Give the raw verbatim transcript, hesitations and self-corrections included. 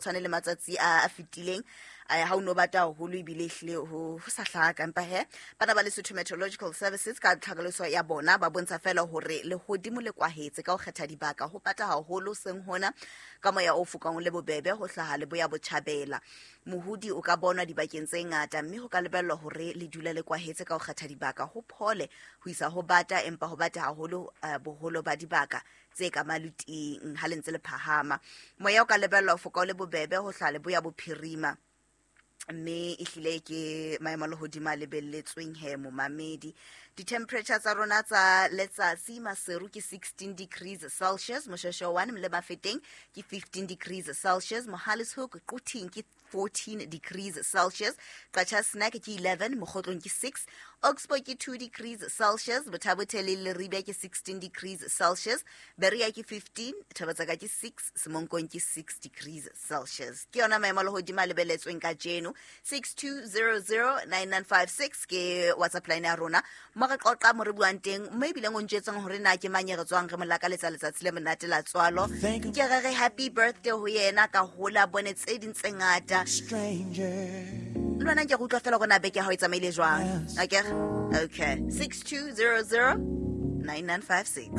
tshwane le matsatsi a a fetileng. Eh, ha o no bata haholo ebile ehlile ho ho sa hlaka. Empa he, bana ba Lesotho Meteorological Services ka tlhaloso ya bona ba bontsha fela hore lehodimo le kwahetse ka ho kgetha dibaka, ho pata haholo seng hona ka moya o fokang le bobebe ho hlaha leboya botjhabela. Mohodi o ka bonwa dibakeng tse ngata, mme ho ka lebellwa hore le dule le kwahetse ka ho kgetha dibaka, ho phole ho isa ho bata, empa ho bata haholo eh, boholo ba dibaka tse ka maluting ha le ntse le phahama. Moya o ka lebellwa ho foka o le bobebe ho hlaha leboya bophirima, mme ehlile ke maemo a lehodimo a lebelletsweng he momamedi. Di-temperature tsa rona tsa letsatsi: Maseru ke sixteen degrees Celsius, Moshoeshoe one le Mafeteng ke fifteen degrees Celsius, Mohale's Hoek, Quthing ke fourteen degrees Celsius, Qacha's Nek ke eleven, Mokhotlong ke six, Oxbow ke two degrees Celsius, Botha-Bothe le Leribe ke sixteen degrees Celsius, Berea ke fifteen, Thaba-Tseka ke six, Semonkong ke six degrees Celsius. Ke yona maemo a lehodimo a lebelletsweng kajeno. six two zero zero nine nine five six ke WhatsApp line ya rona mo re qoqa, mo re buang teng, mo ebileng o ntjetseng hore na ke mang e re tswang re mo lakaletsa letsatsi le monate la tswalo. Ke re re happy birthday ho yena, ka hola bone tse ding tse ngata. Le wena nke re utlwa fela hore na beke ya hao e tsamaile jwang. Akere okay, six two zero zero nine nine five six.